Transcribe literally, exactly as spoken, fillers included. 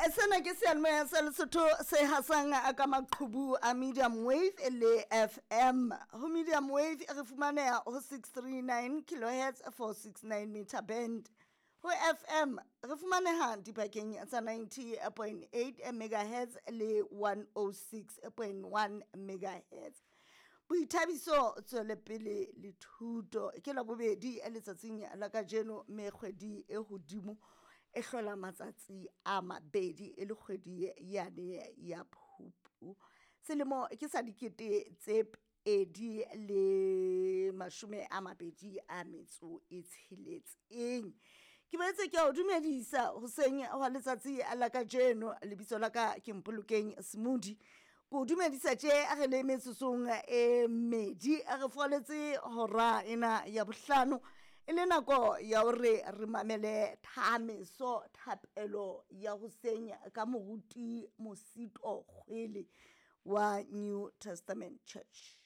Sena ke seyalemoya sa Lesotho se hasang ka maqhubu a medium wave le F M. Ho medium wave re fumaneha ho six three nine kilohertz four six nine meter band. Ho F M re fumaneha dibakeng tsa ninety point eight megahertz le one oh six point one megahertz. Boithabiso, tswelepele le thuto ke la bobedi letsatsing la kajeno, mme kgwedi e hodimo e hlola matsatsi a mabedi e le kgwedi yane ya Phupu. Selemo ke sa dikete tse pedi le mashome a mabedi a metso e tsheletseng. Ke boetse ke a o dumedisa hoseng hwa letsatsi la kajeno. Lebitso la ka ke Mpolokeng Smoothie. Ko dumedisa tje re le metsotsong e mmedi re foletse hora ena ya bohlano, e le nako ya hore re mamele thameso thapelo ya hoseng ka moruti Mosito Kgwele wa New Testament Church.